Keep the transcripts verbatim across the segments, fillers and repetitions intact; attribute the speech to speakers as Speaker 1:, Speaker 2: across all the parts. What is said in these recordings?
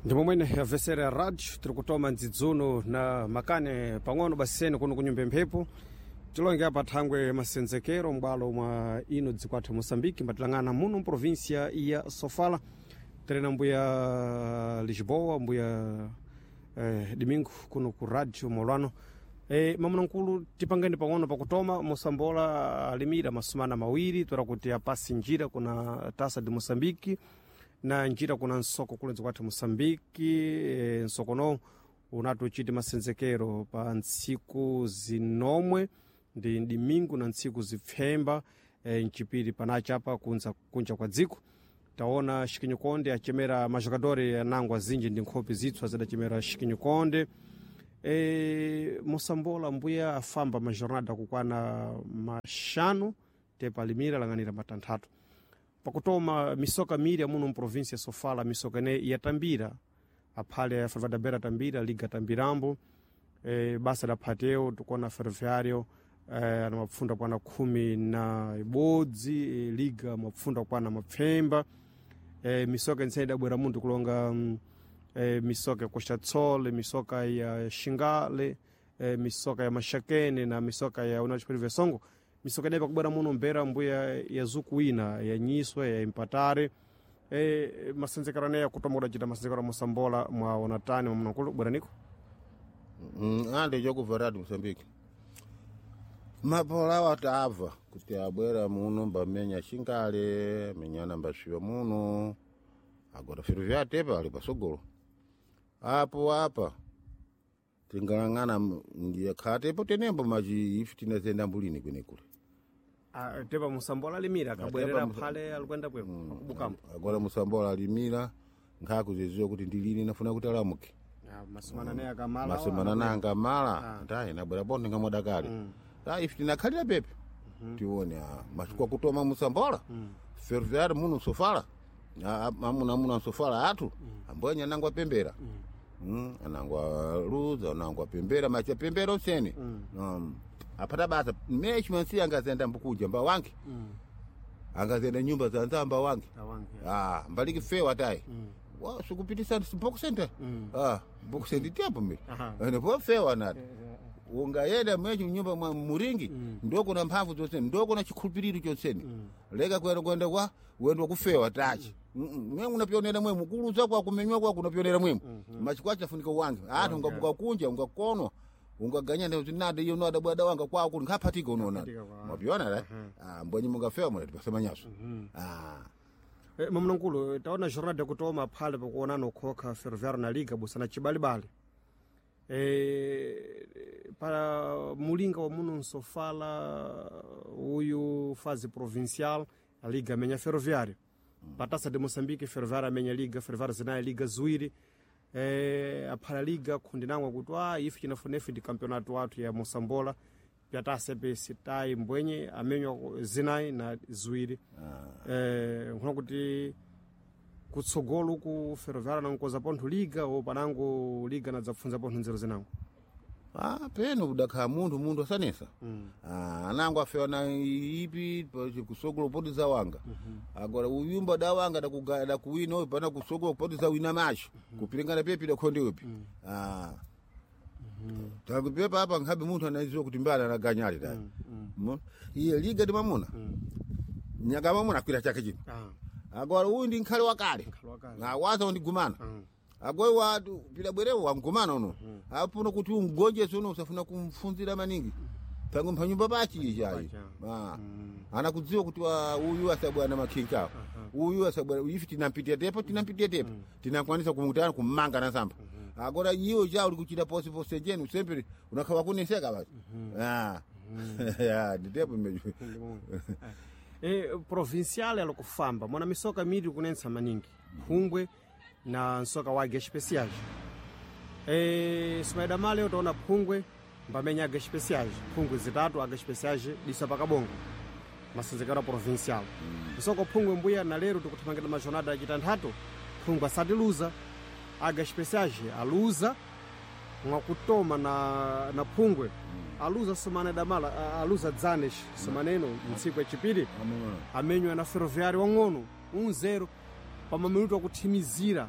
Speaker 1: Ndi momwene yabvesera radio tiri kutoma ndzidzuno na makane pang'ono baseni kuno kunyumba mphepo tilonge apa thangwe masenzekero m'bwalo mwa ino dziko athu Moçambique mbatilang'ana muno mprovinsia ya Sofala tiri na mbuya Lisboa mbuya eh, Domingo kuno ku radio molwano. E, mamunankulu tipangeni pang'ono pakutoma mosambola alimira masumana mawiri toera kuti apasi njira kuna tasa de Moçambique na njira kuna nsoko kule dziko athu Moçambique. E, nsokono unati uchite masenzekero pa ntsiku zinomwe ndi dimingu na ntsiku zipfemba e, mchipiri panachapa kunza kunja kwa dziko taona Shikinyikonde achemera majogadori anango azinji ndi nkhope zitswa zidachemera Shikinyikonde. E, mosambola mbuya afamba majornada kukwana maxanu tepalimira lang'anira matanthatu pakutoma misoka miri amuno mprovinsia Sofala misoka ine yatambira aphale ya Fervadabera tambira liga tambirambo e, basa la phateo tikuona ferroviário e, ana mapfunda kwana khumi na ibodzi e, liga mapfunda kwana mapfemba e, misoka intsene idabwera munthu kulonga mm, e, misoka ya Costa Tsole misoka ya Xingale e, misoka ya Maxakene na misoka ya União Desportiva Songo misoka ineyi pakubwera muno mbera mbuya ya zukuwina ya nyiswe ya impatare e, masenzekero aneya kutoma kudacita masenzekero a mosambola mwaona tani mwamnakulu bweraniko.
Speaker 2: Mm, ande chokubva radio Mozambique mapola awo tabva kuti abwera muno mbamenya xingale menyana mbasviwa muno agora firo vyatepa ali pasogolo apo apa tingalang'ana ndiye khatepo tenembo machi ife tinazenda mbulini kwenekule.
Speaker 1: Ah, tepa musambola alimira akabwerera
Speaker 2: Tepa musa-
Speaker 1: phale alikwenda bweko akubukambo
Speaker 2: agora musambola alimira nkhakuziziwa kuti ndilini nafuna kuti alamuke.
Speaker 1: Ah, masumana naye akamala
Speaker 2: masumana nanga mala ndaye nabwera ponde ngamwadakale ah ife tinakhalira pepe tione ah, machukwa kutoma musambola ferroviário muno sofala Ah, ah, amuna amuna sofala atu ambonya anangwa pembera Mm, anangwa luza anangwa pembera macha pembera usene um, apata basa mechi mansi angazenda mbukuja mba wange angazenda nyumba za nzamba wange
Speaker 1: Awange.
Speaker 2: ah mbaliki fewa tayi wa sikupitisa bokusenta ah bokusenta tiapo mimi
Speaker 1: Aha.
Speaker 2: ene po fewa nati ungayenda mwechi mnyumba mwa muringi ndoko na mphamvu zonsene ndoko na chikhulupiriro chonsene leka kwenda kwenda kwa wendwa kufewa tachi mwe unapionera mwe mukuluza kwa kumenywa kwa kunapionera mwe machikwa chafunika wange ati ungabuka kunja ungakonwa ungaganya nade iyo nada bwada wanga kwa kuli nkhapatika unoona
Speaker 1: Nkhapatika kwa.
Speaker 2: mwapiona la ah mbwenye mungafewa mwe tipasemanyaso ah.
Speaker 1: E, mamnankulu taona jornada yakutoma phale pakuonana ukhokha ferroviário na liga busana chibalibali e, pa mulinga wa muno nsofala uyu fazi provincial a liga amenya ferroviário patasa de Moçambique ferroviário amenya liga ferroviário zinayi liga ziwiri e, aphala liga khundinangwa kuti a ife chinafunefe ndi campeonato wathu ya mosambola pyatasa pe sitayi mbwenye amenywa zinayi na ziwiri eh, nkhuna kuti kutsogolo uku ferroviário nankoza pontho liga o panango liga nadzapfunza pontho nzeru zinango.
Speaker 2: Ah, peno kudakhala munthu munthu asanesa ah, anango afewa na ipi pa- kusogolo poti za wanga agora uyumba da wanga dakuga- dakuwina uyu pana kusogolo poti za wina macho kupilingana pepi dakhonde upi ah. takupepa apa nkhabe munthu anaziwa kuti mbali anaganyali tayi mm. iye liga ndi mamuna nyaka mamuna akwira chake chino
Speaker 1: ah,
Speaker 2: agora uyu ndi nkhale wakale
Speaker 1: wakale.
Speaker 2: awaza undigumana agoi watu pila bwerewo wangumana uno apuno kuti ungonjese uno usafuna kumfunzira maningi tangu mpanyumba pachi ichayi Ah. anakudziwa kuti wa- uyu asabwana makhinkawo uyu asabwana ife tinampitia tepo tinampitia tepo tinakwanisa kumutana kummanga nasamba agora iwo cha uli kuchita pose pose jeni usempere unakhawa kuneseka basi ah ya nditepo imejo.
Speaker 1: E, provincial alokufamba mwana misoka miri kunensa maningi phungwe na nsoka wage especiais e, sumaida male utaona phungwe mbamenya aga especiais phungwe zitatu aga especiais disa pakabongo masenzekero a provincial nsoko phungwe mbuya na lero tikuthamangira majornada acitanthatu phungwe asatiluza aga especiais aluza mwakutoma na, na phungwe aluza sumana damala a- aluza dzanes sumaneno mtsiku yachipiri amenywa na ferroviário wang'ono um zero pa maminuto akuthimizira.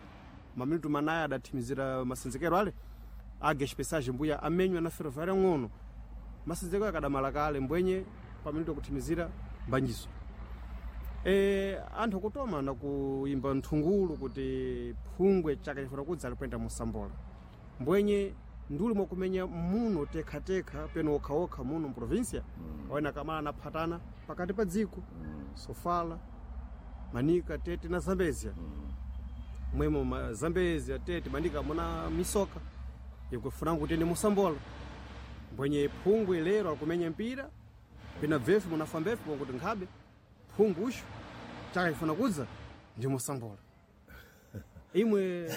Speaker 1: Maminutu manayi adathimizira masenzekero ale Águia Especiais mbuya amenywa na Ferroviária ng'ono. Masenzekero akadamala kale mbwenye paminutu akuthimizira mbanjiso. E, anthu akutoma na kuimba nthungulu kuti phungwe chaka chifuna kudza alikwenda musambola mbwenye nduli mwakumenya muno tekhatekha peno okhaokha muno mprovinsia mm. awena kamala anaphatana pakati pa dziko mm. Sofala, Manika, Tete na Zambezia mm. mwemo ma Zambezia, Tete, Manika muna misoka ikufuna kuti ni musambola mbwenye phungwe lero akumenya mpira pina bvefu munafambefu kuti nkhabe phungu uxo chaka chifuna kudza ndi musambola imwe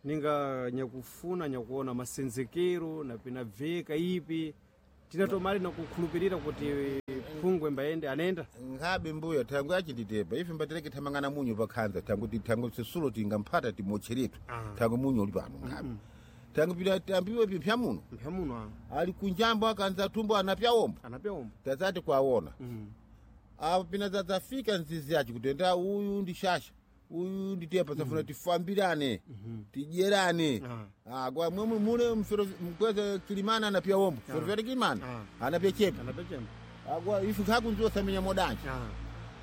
Speaker 1: ninga nyakufuna nyakuona masenzekero na pina bveka ipi tinatomali nakukhulupirira kuti phungwe mbayende anenda
Speaker 2: nkhabe mbuya thangu achinditepa ife mbatereke thamangana munyu pakhanza thangu ti- thangu sisulo tingamphata timocheretu
Speaker 1: Ah.
Speaker 2: thangu munyu uli pano nkhabe thangu pita tambiwe pipya muno
Speaker 1: mpya muno ah,
Speaker 2: ali kunjambo akanza thumbo anapya ombo
Speaker 1: anapya ombo
Speaker 2: tazati kwaona
Speaker 1: mm.
Speaker 2: apo pina zadzafika nzizi yacho kuti enda uyu ndi shasha uyu ndi tepa safuna tifambirane tidyerane
Speaker 1: Ah.
Speaker 2: Ah, kwa mwe mune mfero mkweze kilimana anapya ombo ferofere kilimana
Speaker 1: Ah.
Speaker 2: anapya chepa
Speaker 1: anapya chemba
Speaker 2: akwa ife nkhakunziwa samenya modanje
Speaker 1: ah.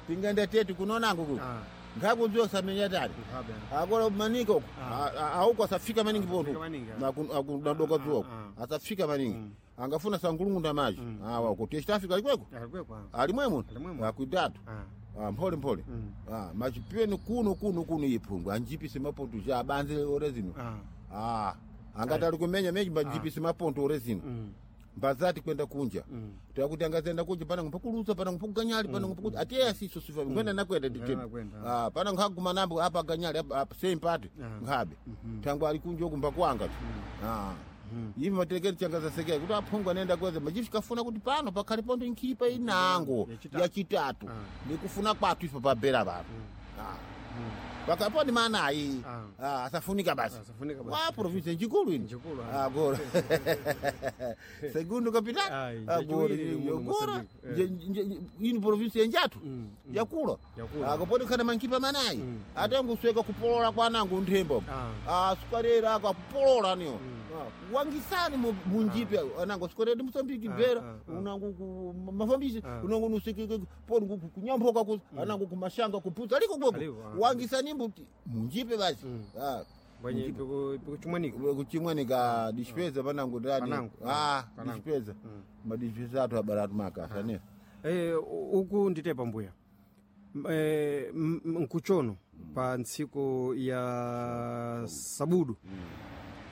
Speaker 2: tingenda tete kunonango ku
Speaker 1: ah.
Speaker 2: nkhakunziwa samenya tani
Speaker 1: nkhabe
Speaker 2: akola maningi uko
Speaker 1: Ah.
Speaker 2: auko asafika maningi
Speaker 1: Asafika
Speaker 2: ponto
Speaker 1: maningi, ah.
Speaker 2: akunadoka
Speaker 1: Ah,
Speaker 2: zuwako
Speaker 1: ah,
Speaker 2: asafika maningi angafuna sangulungunda maji awa uko testafika alikweko
Speaker 1: alikwekwa
Speaker 2: alimwemo
Speaker 1: Alimwemo.
Speaker 2: akuitatu
Speaker 1: ah.
Speaker 2: Ah, mphole mphole
Speaker 1: Mm.
Speaker 2: Ah, machipeni kuno kuno kuno iphungu anjipise maponto ja abanze ore zino
Speaker 1: ah.
Speaker 2: Ah, angati ali kumenya menji mbanjipise maponto ore zino
Speaker 1: mm.
Speaker 2: mbazati kwenda kunja
Speaker 1: Mm.
Speaker 2: takuti angazenda kunja pana mpakuluza pana mpakuganyali pana mpakuti atiye asiso sifa ngwenda nakwenda
Speaker 1: Ngwenda
Speaker 2: nditepe
Speaker 1: nakwenda,
Speaker 2: ah pana nkhaguma nambo apa ganyali apa apa same party
Speaker 1: Ah.
Speaker 2: nkhabe tangu ali kunja uku mbakwanga tu ah ivi materekeri changa zasekera kuti aphungu anenda kweza machifi kafuna kuti pano pakhale ponto nkhipa inango
Speaker 1: Yachitatu.
Speaker 2: yachitatu
Speaker 1: Ah.
Speaker 2: nikufuna kwathu ife pabera pano ah pakapo ni manayi
Speaker 1: Ah.
Speaker 2: ah asafunika basi
Speaker 1: Asafunika basi.
Speaker 2: wa province njikulu ino
Speaker 1: Njikulu, ah.
Speaker 2: ah gora segundo capital
Speaker 1: Ai,
Speaker 2: ah gora
Speaker 1: njechiwiri muno
Speaker 2: gora
Speaker 1: Moçambique, eh.
Speaker 2: ino province yenjatu
Speaker 1: Mm, mm.
Speaker 2: yakula
Speaker 1: Yakula.
Speaker 2: akapoti khana mankipa manayi
Speaker 1: Mm.
Speaker 2: atangusweka kupolola kwanangu nthembo
Speaker 1: Ah.
Speaker 2: ah sukarera akapolola niyo Ah, wangisani mu- munjipe anango sukarera ndi Mosambiki
Speaker 1: Ah,
Speaker 2: bera
Speaker 1: ah, ah.
Speaker 2: unangu ku mafambisi
Speaker 1: Ah.
Speaker 2: unangu nusekeke poni ku- kunyamboka ku anangu kumashanga kupuza aliko
Speaker 1: Aliko,
Speaker 2: kweko
Speaker 1: ah.
Speaker 2: wangisani mbuti munjipe basi ah
Speaker 1: mbwenye pikuchimwanika
Speaker 2: kuchimwanika dispeza panangu ndani
Speaker 1: Panango.
Speaker 2: ah
Speaker 1: Panango.
Speaker 2: dispeza madispeza atu abaratu makasa ne
Speaker 1: Eh, uku nditepa mbuya M- eh, m- m- nkuchono pa ntsiku ya sabudu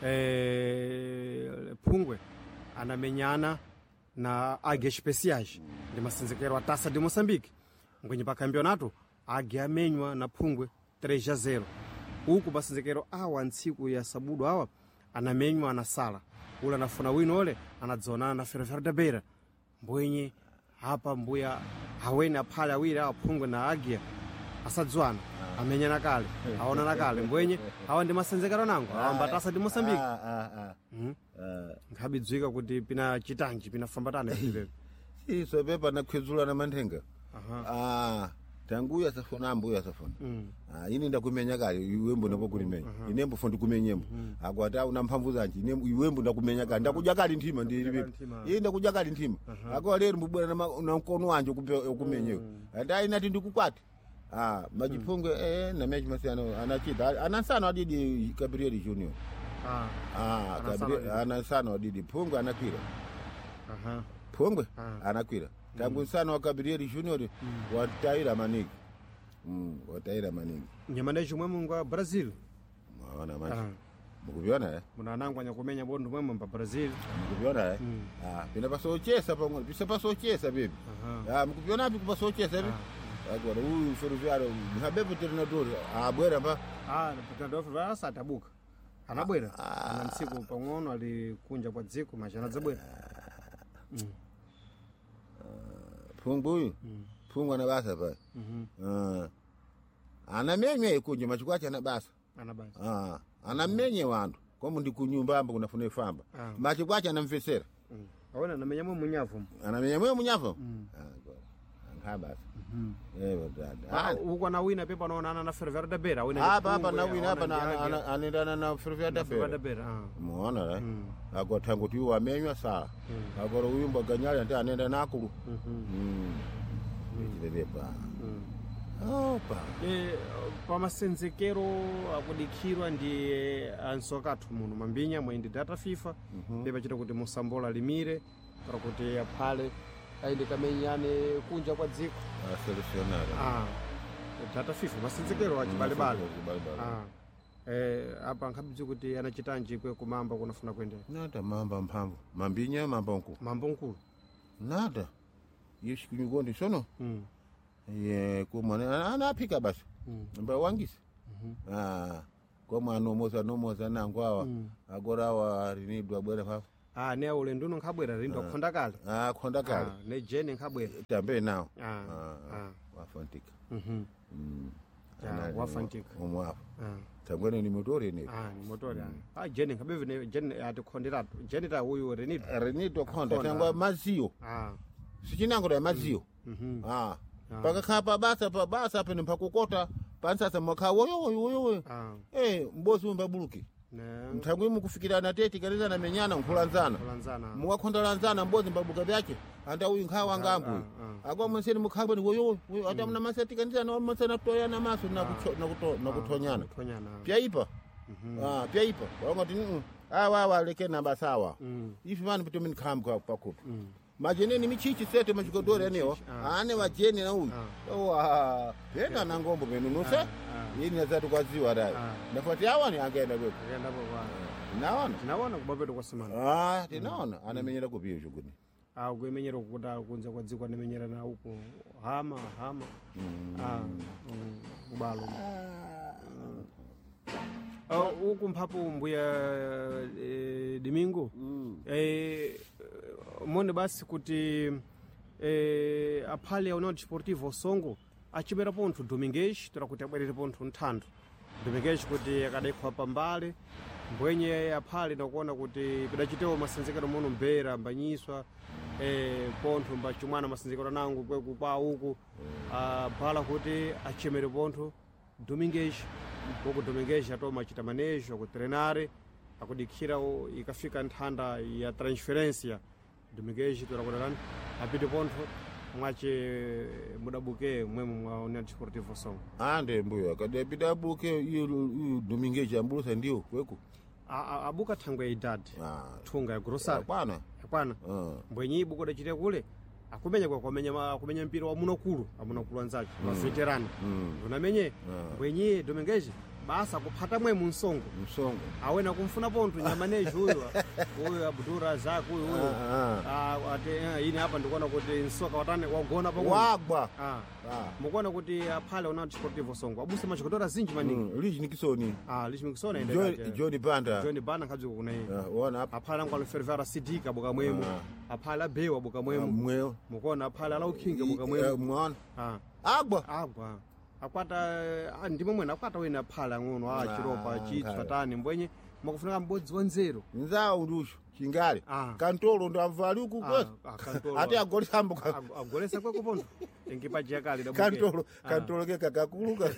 Speaker 1: eh, phungwe anamenyana na Águia Especiais ndi masenzekero a Taça de Moçambique ngwenye pa campeonato Águia amenywa na phungwe três a zero uku masenzekero awa ntsiku ya sabudu awa anamenywa anasala ule anafuna wino ole anadzonana na Ferroviário da Beira mbwenye apa mbuya awene aphale awiri awa phungwe na Águia asadzwana amenyana kale aonana kale mbwenye awa ndi masenzekero nango awamba Taça de Moçambique
Speaker 2: ah ah ah Ah.
Speaker 1: nkhabidzwika kuti pina chitanji pinafambatana ipepo
Speaker 2: iso pepa nakhwedzulana manthenga
Speaker 1: Aha.
Speaker 2: ah tanguyo asafuna ambuyo asafuna
Speaker 1: Mm.
Speaker 2: ah ine ndakumenya kale iwembo ndakukulimenya inembo fo ndikumenyembo akwati una mphamvu zanje ine iwembo ndakumenya kale ndakudya kale nthima ndili
Speaker 1: kale nthima.
Speaker 2: iye ndakudya kale nthima akwa lero mbubwera na ma- na mkono wanje ukupe- ukumenyewe ati ayi nati ndikukwati ah majiphungwe eh namechi masiyano anachita anansano adidi Gabriel Junior
Speaker 1: Ah,
Speaker 2: ah
Speaker 1: Anansano
Speaker 2: Gabriel
Speaker 1: adidi.
Speaker 2: anansano adidi phungwe anakwira
Speaker 1: aha.
Speaker 2: phungwe
Speaker 1: Ah.
Speaker 2: anakwira tangu nsano wa Gabriel Junior wataira maningi mm wataira maningi
Speaker 1: nyamana chomwe mungu wa Brazil
Speaker 2: mwaona manje
Speaker 1: Ah.
Speaker 2: mukuviona eh
Speaker 1: muna anango anyakumenya bondo mwemwe mpa Brazil
Speaker 2: mukuviona eh ah pina pasochesa pamwe pisa pasochesa bibi
Speaker 1: Aha.
Speaker 2: ah mukuviona api kupasochesa bibi agora uyu ferroviário habepo treinador ah bwera pa
Speaker 1: ah napitandofo asatabuka anabwera ana mtsiku pang'ono ali kunja kwa dziko machi anadzabwera
Speaker 2: phungu uyu phungu ana basa pa ah anamenye ikunje machikwacha ana basa
Speaker 1: anabasa
Speaker 2: ah anamenye wantu komo ndi kunyumba amba kunafuna ifamba
Speaker 1: Ah.
Speaker 2: machikwacha anamvesera
Speaker 1: mm. awona anamenya mwe munyavu
Speaker 2: anamenya mwe munyavu ah agora ankha basa Eh dada.
Speaker 1: Uko na wina pepa naonana na Ferroviário da Beira wina
Speaker 2: Apa apa na wina apa na anendana na Ferroviário da
Speaker 1: Ferroviário da
Speaker 2: Beira.
Speaker 1: Beira ah.
Speaker 2: Muona la. Agora tangu tu wamenywa sala. Agora uyu mbaganyali ante anenda nakulu. Mm. Ichilepa. Opa.
Speaker 1: E, pamasenzekero akudikhirwa ndi ansoka athu muno mambinya mwayindi data FIFA pepachita kuti musambola limire kana kuti aphale ayende kamenyane kunja kwa dziko
Speaker 2: A selecionada.
Speaker 1: ah, data FIFA masenzekero achibalebale
Speaker 2: Chibalebale.
Speaker 1: ah. Eh, apa nkhabidzi kuti anachitanji kwe kumamba kunafuna kuendera
Speaker 2: Nada mamba mphamvu. Mambinya mamba nku.
Speaker 1: mambo nkulu
Speaker 2: Nada. Yeshi kunyugondi sono.
Speaker 1: mm.
Speaker 2: Ye kumwana anaphika basi. Mba wangisa. Ah. Komwe anomoza nomoza nangu awa. Agora awa rinidwa bwera papo.
Speaker 1: ah, ne ulendo uno nkhabwera lindo akhonda kale
Speaker 2: Ah khonda kale.
Speaker 1: ah, ne jene nkhabwera
Speaker 2: Tambe nawo.
Speaker 1: ah.
Speaker 2: Ah.
Speaker 1: ah.
Speaker 2: Wafantika.
Speaker 1: mhm.
Speaker 2: Mm.
Speaker 1: Ya,
Speaker 2: Anali
Speaker 1: wafantika.
Speaker 2: Omwe apo.
Speaker 1: ah.
Speaker 2: Tangwene ni motori ni.
Speaker 1: Ah, ni motori ah. Ah, jene nkhabeve jene atikhonderatu jene ta uyu renito
Speaker 2: Rinidwa khonda
Speaker 1: Khonda.
Speaker 2: tangwa maziyo.
Speaker 1: ah.
Speaker 2: Sichinango ya maziyo.
Speaker 1: mhm.
Speaker 2: Ah. Pakakhala pabasa pabasa pene mpakukota pansasa mwakha woyo woyo woyo woyo.
Speaker 1: ah.
Speaker 2: Eh mbozi umbabuluki.
Speaker 1: ne
Speaker 2: Mthangwi mukufikirana teti kanizana menyana nkhulanzana.
Speaker 1: kulanzana
Speaker 2: Mukakhondalanzana mbozi mbabuka vyache anda uyu nkhawa ngambu.
Speaker 1: Ah,
Speaker 2: Akwa mwenseni mukhangwe ni woyo woyo ata mna masati kanizana masana toyana maso na kucho- na kuto- na kuthonyana.
Speaker 1: kuthonyana
Speaker 2: Pyaipa. Ah pyaipa. Wangati mm awa awa leke na basawa.
Speaker 1: Mm.
Speaker 2: Ifi vanhu kuti minikhamba pakupi. Majeneni michichi sete machikodori anewa. Ane vajeni na uyu. Owa pena na ngombo penu nuse. Yini azati kwaziwa dai. Ndafati awa ni angaenda kwepo.
Speaker 1: akaendapo kwa
Speaker 2: Tinaona.
Speaker 1: tinaona kubapeto kwa semana
Speaker 2: Ah, tinaona anamenyera kupiyo chukuni.
Speaker 1: ah kuimenyera kukuta kunza kwa dziko anamenyera na uku hama hama ah mm, ubalo Ah, uku mphapo mbuya eh, Domingo eh, mone basi kuti eh, aphale ya União Desportiva Osongo achimera pontho Domingues tora kuti abwerere pontho nthantho Domingues kuti akadaikhowa pambale mbwenye aphale nakuona kuti pidachitewo masenzekero muno mbera mbanyiswa eh, pontho mbachumwana masenzekero anango kwekupa uku abhala kuti achemere pontho Domingues uku Domingues atoma achita manejo akutrenare akudikhira o- ikafika nthanda ya transferência Domingues torakutalani apite pontho mwache mudabuke mwemo mwa União Desportiva Songo
Speaker 2: Ande mbuya kadapita buke iyo Domingues ambulusa ndiyo kweku.
Speaker 1: A- a- abuka thangwe ya idadi
Speaker 2: Ah.
Speaker 1: thunga ya grosari
Speaker 2: Kwana.
Speaker 1: yakwana
Speaker 2: Ah.
Speaker 1: mbwenye ibuko dachite kule akumenya kwa kwamenya ma- akumenya mpira wa munakulu amunakulu anzace mm. maveterano
Speaker 2: Mm.
Speaker 1: unamenye mbwenye Domingues basa kuphata mwe munsongo
Speaker 2: Msongo.
Speaker 1: awena kumfuna pontho nyamanejo uyu uyu Abdul Razak uyu uyu
Speaker 2: Ah,
Speaker 1: Ah, ati eh, ine apa ndikuona kuti nsoka watane wagona pang'ono
Speaker 2: Wagwa.
Speaker 1: ah.
Speaker 2: Ah.
Speaker 1: mukuona kuti aphale una Desportivo Songo abusa machikodora zinji maningi
Speaker 2: Mm. Liji Nikisoni.
Speaker 1: ah lichimikisona ende
Speaker 2: John John Banda.
Speaker 1: John Bana nkhabzi kuna iye
Speaker 2: Ah, Wona apa.
Speaker 1: aphale angu alo Sidika buka mwemu aphale abewa buka mwemu
Speaker 2: Mweo.
Speaker 1: mukuona aphale ala ukhinga buka
Speaker 2: Eh,
Speaker 1: mwemu
Speaker 2: Mwana.
Speaker 1: ah
Speaker 2: Agwa.
Speaker 1: agwa akwata ah, ndimo mwene akwata wina aphale ang'ono ah chiropa
Speaker 2: Ah,
Speaker 1: chitswa
Speaker 2: nkhale.
Speaker 1: tani mbwenye makufunika mbodzi wa nzeru
Speaker 2: Nzawo ndusho. Chingale.
Speaker 1: Ah.
Speaker 2: Kantolo ndo amvali uku
Speaker 1: Ah,
Speaker 2: kwesi.
Speaker 1: ah, Kantolo.
Speaker 2: Ati agolisambo ka.
Speaker 1: Ag- agolesa kweko pontho tenkipajiya kale
Speaker 2: Kantolo kantolo ke kakakuluka.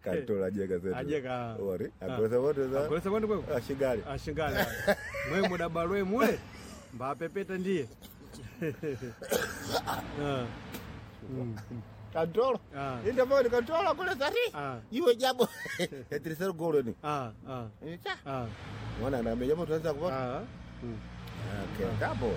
Speaker 2: Kantolo ajeka zetu.
Speaker 1: Ajeka.
Speaker 2: Ori. Agolesa wote za.
Speaker 1: agolesa kwendo kweko
Speaker 2: Ah, Chingale.
Speaker 1: ashingale mwe mudabalwe mule mbapepeta ndiye Ah,
Speaker 2: Kantolo.
Speaker 1: Ah.
Speaker 2: Indavoni kantolo agolesa ati.
Speaker 1: Ah.
Speaker 2: Iwe jabo. Terceiro gol ni.
Speaker 1: ah, ah,
Speaker 2: Cha.
Speaker 1: ah,
Speaker 2: Mwana na meja moto anza kupata.
Speaker 1: ah. Mm.
Speaker 2: Okay, kapo.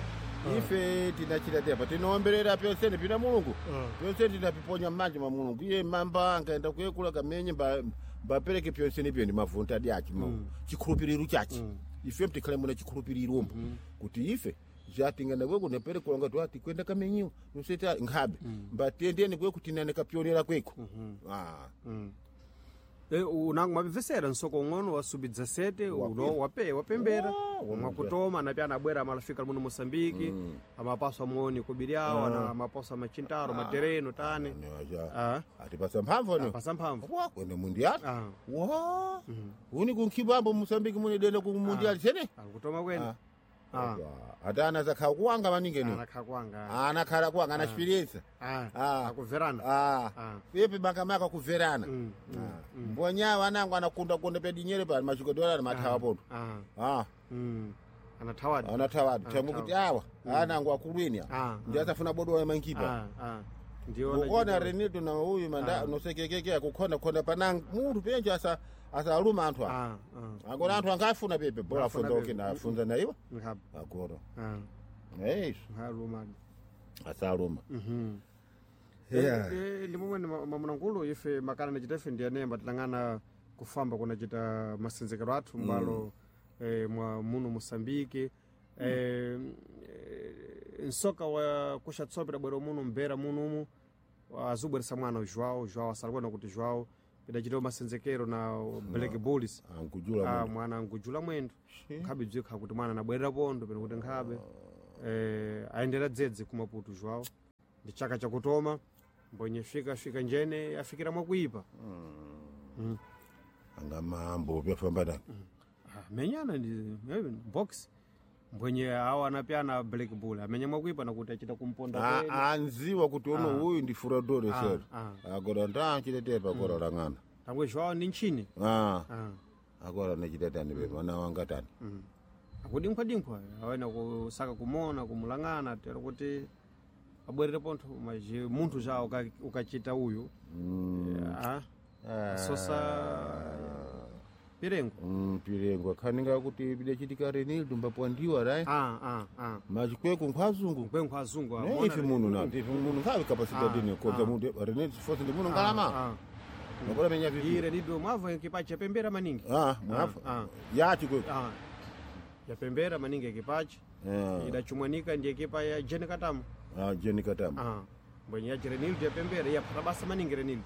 Speaker 2: Ife tinachita tepa tinoomberera pyonsene pina mulungu
Speaker 1: Ah.
Speaker 2: pyonsene tinapiponya m'manja mwa mulungu iye mamba ankaenda kuyekula kamenye mba mbapereke pyonsene pyo ndi mavunta adi achi mm. chikhulupiriro chachi ife mtikhale muna chikhulupiriro mbo kuti ife zvatingana kweku neperekula ngati wati kwenda kamenyiwa noseta nkhabe mbatendeni kweku tinane kapyonera kweku ah.
Speaker 1: Eh, unango mapevesera nsoko ung'ono wa sub dezessete uno wape wapembera
Speaker 2: Oh,
Speaker 1: mwakutoma anapi anabwera amalafika muno Moçambique amapaso amuoni kubiriawo ana amapaso amachintaro matereno tane
Speaker 2: Newaja.
Speaker 1: Ah.
Speaker 2: Atipasa mphamvu ano
Speaker 1: pasa mphamvu
Speaker 2: wa kwenda mundiali
Speaker 1: Ah.
Speaker 2: wa uni kunkhibambo musambiki mune denda ku mundiali sene
Speaker 1: alikutoma kwene
Speaker 2: Ah.
Speaker 1: Ah.
Speaker 2: Ata anazakhala kuwanga maningi eno.
Speaker 1: Anakhakwanga.
Speaker 2: Anakhala kuwanga ana experience.
Speaker 1: Ah.
Speaker 2: Ah.
Speaker 1: Akuverana.
Speaker 2: Ah.
Speaker 1: Ah.
Speaker 2: Pepe makamaka kuverana.
Speaker 1: Mm,
Speaker 2: Ah. Mbonyawo anango anakunda-kunda pedinyere pali machikodora ali mathawa poto.
Speaker 1: Ah.
Speaker 2: Ah.
Speaker 1: Mm. Anathawadi.
Speaker 2: Anathawadi. Thamwe kuti awa anango akulwini
Speaker 1: Ah, ah.
Speaker 2: ndi asafuna bodola mankipa.
Speaker 1: Ah, ah. Ndiona.
Speaker 2: Kuona Renildo na uyu manda nosekekeke akukhona khona panang munthu penje asa asaluma anthu apa.
Speaker 1: Ah, ah.
Speaker 2: Agora anthu angafuna pepe bora
Speaker 1: Angafuna
Speaker 2: afunza
Speaker 1: pepe.
Speaker 2: okay na afunza na iwa.
Speaker 1: Nkhaba.
Speaker 2: Agora.
Speaker 1: Ah.
Speaker 2: Eish
Speaker 1: Nkhalumadi.
Speaker 2: asaluma.
Speaker 1: Mhm.
Speaker 2: Yeah.
Speaker 1: Eh, ndi momwe mamunangulu ife makana nachita ife ndi anemba tilang'ana kufamba kunachita masenzekero athu m'balo eh, mwa muno Moçambique eh, eh, nsoka wa kuxatsope tabwera muno mbera munomu azubweresa mwana João João asalikuona kuti João pidachita masenzekero na Black Bulls.
Speaker 2: Ankujula
Speaker 1: Ah,
Speaker 2: munthu.
Speaker 1: mwana angujula mwendo nkhabe bzikha kuti mwana anabwerera pondo peno kuti nkhabe eh, ayendera dzedze ku Maputo João ndi chaka chakutoma mbonye fika fika njene afikira mwakuipa.
Speaker 2: Angamambo pyafamba nani.
Speaker 1: Ah, menyana ndi eh, box mbwenye awo anapyana Black Bull amenya mwakuipa nakuti achita kumponda
Speaker 2: Ah,
Speaker 1: kwene.
Speaker 2: anziwa kuti uno uyu ndi furadore
Speaker 1: Ah,
Speaker 2: sero.
Speaker 1: ah.
Speaker 2: Agora ndanchiletepa agora lang'ana.
Speaker 1: Tangwe João ndi nchini.
Speaker 2: Ah.
Speaker 1: Ah.
Speaker 2: Agora nechitetani pepe mwana wanga tani.
Speaker 1: Akudinkhwadinkhwa awena kusaka kumona kumulang'ana tero kuti abwerere pontho maji munthu ja uka- ukachita uyu. Ah, sosa pirengo.
Speaker 2: Mm, pirengo akhaninga kuti pidachitika Renildo mbapwandiwa rai.
Speaker 1: Ah, ah, ah.
Speaker 2: Machikweko nkhwazungu.
Speaker 1: Nkwenkho azungu
Speaker 2: Ne
Speaker 1: amona-
Speaker 2: ife muno na ife muno nkhawe capacity
Speaker 1: Ah,
Speaker 2: dine kodza
Speaker 1: ah.
Speaker 2: munthu Renildo force ndi muno ngalama.
Speaker 1: Ah,
Speaker 2: Makora menya
Speaker 1: ah.
Speaker 2: vipi.
Speaker 1: Ire nido mwavo ekipachi yapembera maningi.
Speaker 2: Ah, mwafa.
Speaker 1: Ah,
Speaker 2: Ya chikweko.
Speaker 1: Ah. Yapembera maningi ekipachi.
Speaker 2: Ah.
Speaker 1: Idachumwanika ndi ekipa ya Jene Katama.
Speaker 2: Ah, Jeni Katama.
Speaker 1: Ah. Mbwenye ya Renildo yapembera yaphata basa maningi Renildo.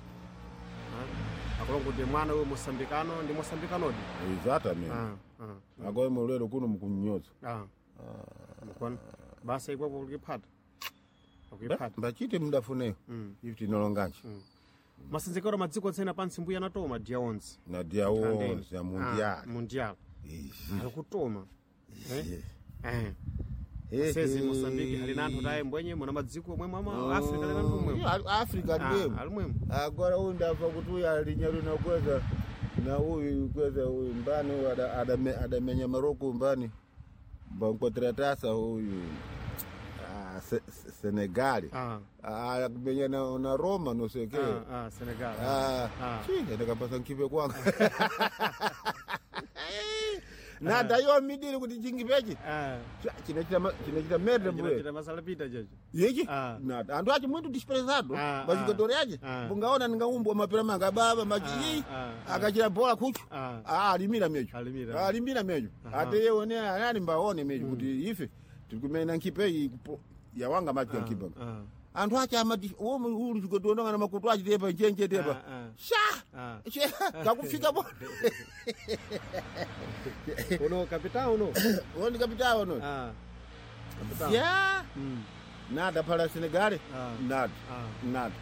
Speaker 1: Ah. Akulonga kuti mwana uyu mosambikano ndi mosambikanodi.
Speaker 2: Exatamente.
Speaker 1: Ah, ah.
Speaker 2: Agora mulero kuno mukunyoza.
Speaker 1: Ah. Mukona. Basa ikwapo kuliphata. Akuiphata.
Speaker 2: Mbachite mudafuneyo. Ife tinolonganji.
Speaker 1: Masenzekero madziko tsena pansi mbuya anatoma dia onse.
Speaker 2: Na dia onze ya
Speaker 1: Ah,
Speaker 2: mundial.
Speaker 1: mundial.
Speaker 2: Ixi.
Speaker 1: Ali kutoma. Eh? Eh.
Speaker 2: Eh,
Speaker 1: Sezi
Speaker 2: eh.
Speaker 1: Moçambique ali na anthu taye mbwenye muna madziko omwe mwa Africa ali na anthu omwe.
Speaker 2: Iyo, Africa
Speaker 1: Ah, ali mwemo.
Speaker 2: Agora uyu ndabva kuti uyu alinya lino kweza na uyu kweza uyu mbani uyu ada- adame- adamenya Maroko mbani mbankoteratasa uyu ah, Se- Se- Senegali.
Speaker 1: Ah.
Speaker 2: Ah, kumenya na, na Roma não sei o quê.
Speaker 1: Ah, ah, Senegal.
Speaker 2: Ah,
Speaker 1: Ah.
Speaker 2: chi ndakapasa nkipe kwanga. Nada yo midiri kuti chingipechi
Speaker 1: Ah.
Speaker 2: chinochita chinochita merde mbuye
Speaker 1: Chita masala pita chacho.
Speaker 2: yechi
Speaker 1: Ah.
Speaker 2: nada andu achi muito desprezado
Speaker 1: Ah,
Speaker 2: machikodori achi
Speaker 1: ah.
Speaker 2: bungaona ndingaumbwa mapira manga baba machi
Speaker 1: Ah, ah,
Speaker 2: akachira bhola kucho
Speaker 1: Ah.
Speaker 2: ah alimira mecho
Speaker 1: Alimira.
Speaker 2: alimira mecho ate yewone anani mbaone mecho kuti ife tirikumena nkipe iyi kupo- yawanga machi nkipa
Speaker 1: Ah.
Speaker 2: anthu achi amati omwe uli chikodondongana makutu achi tepa njenje tepa
Speaker 1: Ah, ah.
Speaker 2: sha
Speaker 1: Ah.
Speaker 2: Che, kakufika po
Speaker 1: Uno capitão uno.
Speaker 2: oni kapitawo no
Speaker 1: Ah. Capitão.
Speaker 2: ya
Speaker 1: Mm.
Speaker 2: nada phala Senegal
Speaker 1: Ah.
Speaker 2: nada
Speaker 1: Ah.
Speaker 2: nada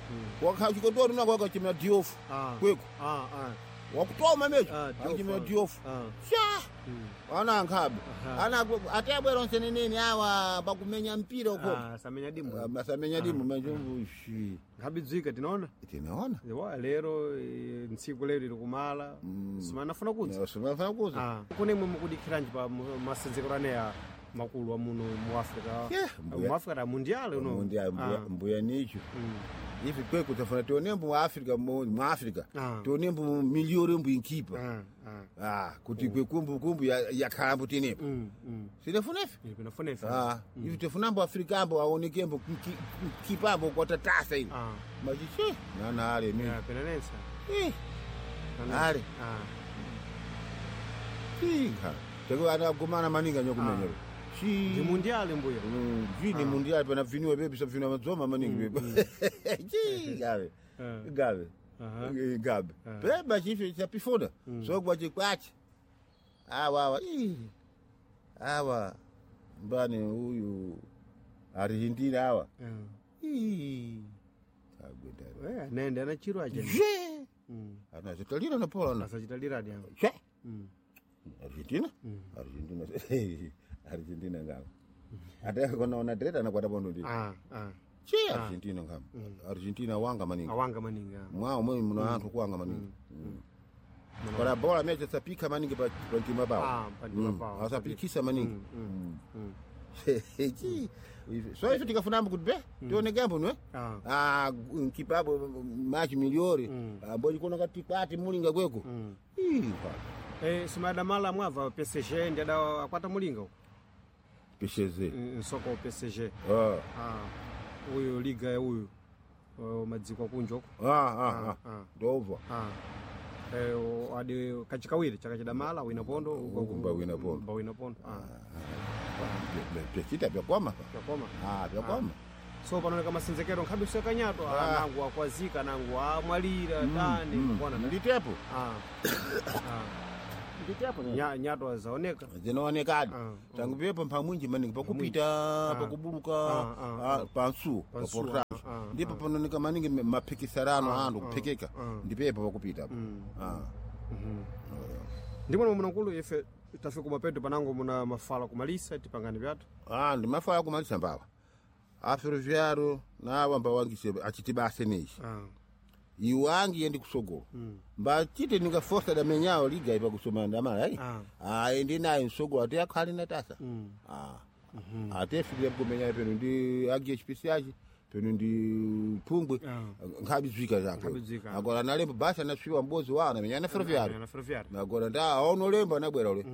Speaker 2: wakachikotori nako wakachimira diofu
Speaker 1: Ah.
Speaker 2: kweko
Speaker 1: Ah, ah.
Speaker 2: wakutoma mecho
Speaker 1: Ah, Diouf,
Speaker 2: akachimira
Speaker 1: ah.
Speaker 2: diofu
Speaker 1: Ah.
Speaker 2: sha
Speaker 1: Mm.
Speaker 2: ana ankhabe
Speaker 1: Aha.
Speaker 2: ana atebwera onse neneni awa pakumenya mpira uko
Speaker 1: Ah, samenya dimbo.
Speaker 2: masamenya dimu machombo shi
Speaker 1: Nkhabidzwika tinaona.
Speaker 2: tinaona
Speaker 1: Wa lero eh, ntsiku lero iri kumala. Simana funa kudza.
Speaker 2: simafana kuza
Speaker 1: Ah. Kune imwe mukudikhiranji pa mu- masenzekero aneya makulu a muno mu Africa.
Speaker 2: Yeah, mbuya.
Speaker 1: Mu Africa ta mundial uno.
Speaker 2: Mundia- mbuya-
Speaker 1: Ah.
Speaker 2: mbuya nicho
Speaker 1: Mm.
Speaker 2: ivi kweko tafuna tionembo mu Africa mu mu Africa
Speaker 1: Ah.
Speaker 2: tionembo miliyoni mbu inkipa
Speaker 1: Ah, ah.
Speaker 2: ah kuti kwekumbu kumbu yakhalambo tinepo
Speaker 1: Mm, mm.
Speaker 2: sinefunefe
Speaker 1: Iri pinafuna ife.
Speaker 2: Ah, ivi tifunambo Africa ambo aonekembo kipambo kwatatasa ivi
Speaker 1: Ah.
Speaker 2: machiche nana ale mi
Speaker 1: Yeah, penanensa.
Speaker 2: Eh,
Speaker 1: Penanensa.
Speaker 2: Ale.
Speaker 1: Ah.
Speaker 2: inga teko ana gumana maninga nyokumenya
Speaker 1: Ndi
Speaker 2: shi
Speaker 1: mundial mbuya.
Speaker 2: Mm, vini mundial pana viniwe bebi sabvina madzoma maningi bebi chi gabe
Speaker 1: Ah.
Speaker 2: gabe
Speaker 1: Aha.
Speaker 2: Eh, gabe beba chife chapifuna sokwa chikwachi awa awa ii, awa mbani uyu arihindira awa
Speaker 1: Ah.
Speaker 2: Ii, agwetana
Speaker 1: Eh, nende anachiro aja.
Speaker 2: je
Speaker 1: Mm.
Speaker 2: anachitalira na pola na
Speaker 1: Asachitaliradi awo.
Speaker 2: che
Speaker 1: Mm.
Speaker 2: Argentina Argentina Argentina ngamo ate konaona direta anakwata pondo ndi
Speaker 1: Ah, ah.
Speaker 2: che Argentina ngamo Argentina wanga maningi
Speaker 1: Awanga maningi. ah.
Speaker 2: mwawo mwe muna anthu kuwanga maningi para bola mecha sapika maningi pa pa mtima pawo
Speaker 1: Ah, pa mtima pawo.
Speaker 2: asapikisa maningi Chi, so ife tikafunambo kuti be tione gambo nwe
Speaker 1: Ah.
Speaker 2: ah nkipabo machi miliori ambo chikuona kati kwati mulinga kweko Ih, pa
Speaker 1: Eh, simadamala mwava P S G ndi ada akwata mulinga uko.
Speaker 2: pesheze
Speaker 1: Mm, Nsoko wa P S G.
Speaker 2: ah
Speaker 1: Ah. Uyu liga ya uyu. Oh, madziko akunja uko.
Speaker 2: ah ah
Speaker 1: ah.
Speaker 2: ah ndobva
Speaker 1: Ah. Eh, o- adi kachikawiri chakachidamala wina pondo uko-
Speaker 2: Uku mba wina pondo.
Speaker 1: mba wina pondo. Ah.
Speaker 2: pyachita pyakoma pa
Speaker 1: Pyakoma.
Speaker 2: ah pyakoma
Speaker 1: So panooneka masenzekero nkhabe usekanyato ah. Nangu akwazika nangu amwalira tani kuona ta-
Speaker 2: nditepo
Speaker 1: ah. Ah.
Speaker 2: nditepo
Speaker 1: Nya, nyato azaoneka
Speaker 2: zinoonekadi
Speaker 1: Ah,
Speaker 2: tangu pepo mphamwinji maningi pakupita pakubuluka
Speaker 1: Ah, ah,
Speaker 2: ah, pansu
Speaker 1: Pansu,
Speaker 2: paportaso
Speaker 1: ah, ah,
Speaker 2: ndipo panooneka maningi me- maphikisarano anthu kuphikika ndipepo pakupita Ah.
Speaker 1: ndimona mwanakulu ife tafika kumapeto panango muna mafala kumalisa tipangani vyatu
Speaker 2: Ah, ndimafala kumalisa mbawa aferoviaro nawa mbawangise achitibase nechi
Speaker 1: ah.
Speaker 2: iwangi yendi kusogolo mbachite ningafosa damenyawo liga ipa kusoma ndamala ayi
Speaker 1: Ah.
Speaker 2: ayi ndinayo msogolo ate akhali natasa Ah. ate fikira kumenya peno ndi agi H P C achi peno ndi pungwe
Speaker 1: Ah.
Speaker 2: nkhabi zwika zake
Speaker 1: Nkhabi zwika.
Speaker 2: agora nalembo basi anaswiwa mbozi wawo namenya na ferroviário
Speaker 1: na ferroviário
Speaker 2: nagora nda aonolemba anabwera ule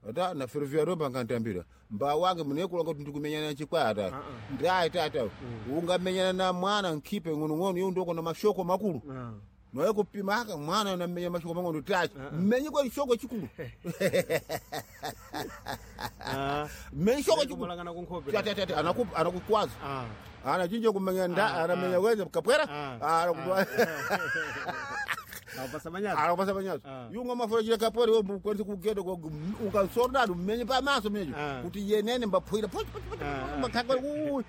Speaker 2: ata na ferroviário mbangantambira mba wange munekulanga kuti ndikumenyana na chikwata ndayi tata ungamenyana na mwana nkhipe ng'onong'ono iwo ndoko na mashoko makulu
Speaker 1: ah.
Speaker 2: noye kupima aka mwana namenya mashoko mang'ono tachi mmenye kwa chishoko chikulu
Speaker 1: ah.
Speaker 2: mmenye chishoko chikulu
Speaker 1: Kumalangana kunkhope
Speaker 2: tata tata anaku anakukwaza
Speaker 1: ah.
Speaker 2: anachinja kumenya nda anamenya kweza kapwera
Speaker 1: Ah.
Speaker 2: anakupa
Speaker 1: Apasa manyato
Speaker 2: anakupasa manyazo
Speaker 1: Ah.
Speaker 2: yunga mafura chile kapwera iwe kwanza kugenda kwa ukasordado mmenye pamaso menyecho
Speaker 1: Ah.
Speaker 2: kuti yenene mbaphwira poch poch poch
Speaker 1: Ah.
Speaker 2: mbakhakwa uyu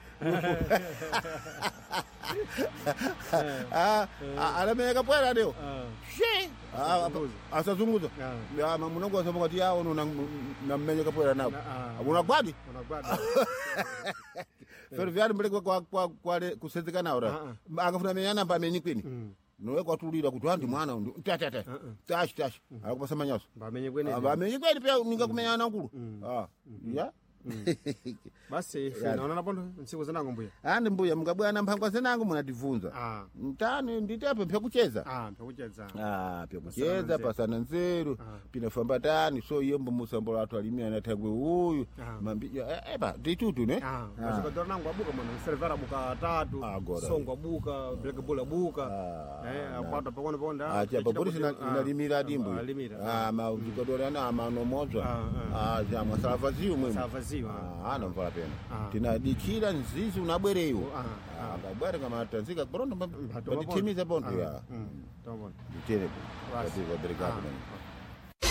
Speaker 2: ah anamenya kapwera adewo
Speaker 1: ah.
Speaker 2: she
Speaker 1: Asazunguza.
Speaker 2: asazunguza
Speaker 1: Ah.
Speaker 2: munongo asoma kuti yawo nammenye kapwera napo
Speaker 1: Ah.
Speaker 2: unagwadi
Speaker 1: Unagwada.
Speaker 2: ferroviário mbele kwa kwa kwa kusenzeka nawo ra akafuna menyana mba amenyi kwini nowe kwatulira kuti andi mwana undi tata tata tashi tashi akupasa manyaso
Speaker 1: Mbamenye kwene.
Speaker 2: amenyi kwini pia ninga kumenyana nkulu ah ya
Speaker 1: Basi ife naona pondo ntsiku zanango mbuya.
Speaker 2: andi mbuya mukabwana mphangwa zenango munatibvunza
Speaker 1: Ah.
Speaker 2: mtani nditepo mpyakucheza
Speaker 1: Ah, mpyakucheza.
Speaker 2: Ah, pyakucheza pasana nzeru pinafamba tani so iye mbomusambola athu alimi anathangwe uyu
Speaker 1: Ah.
Speaker 2: mambi eh, epa nditutu ne
Speaker 1: Ah, machikadora nango abuka mwana servera abuka atatu,
Speaker 2: Ah, gora.
Speaker 1: songo abuka, black bull abuka.
Speaker 2: Ah,
Speaker 1: Eh, akwata pakono pakono.
Speaker 2: acha papolisi inalimira adimbu
Speaker 1: Alimira.
Speaker 2: ah majikodora na amanomozwa
Speaker 1: Ah,
Speaker 2: ah jamwa salavaziyo mwemu
Speaker 1: Savaziwa.
Speaker 2: ah anamvala pena
Speaker 1: Ah.
Speaker 2: tinadikira nzizi unabwereyo
Speaker 1: Ah,
Speaker 2: ah ngabwere kama tanzika bondo
Speaker 1: Mpatoma
Speaker 2: batithimiza bondo ya
Speaker 1: Mm. Tomona.
Speaker 2: nditerepo
Speaker 1: Basi.
Speaker 2: obrigado
Speaker 1: Ah,
Speaker 2: mano
Speaker 1: ok.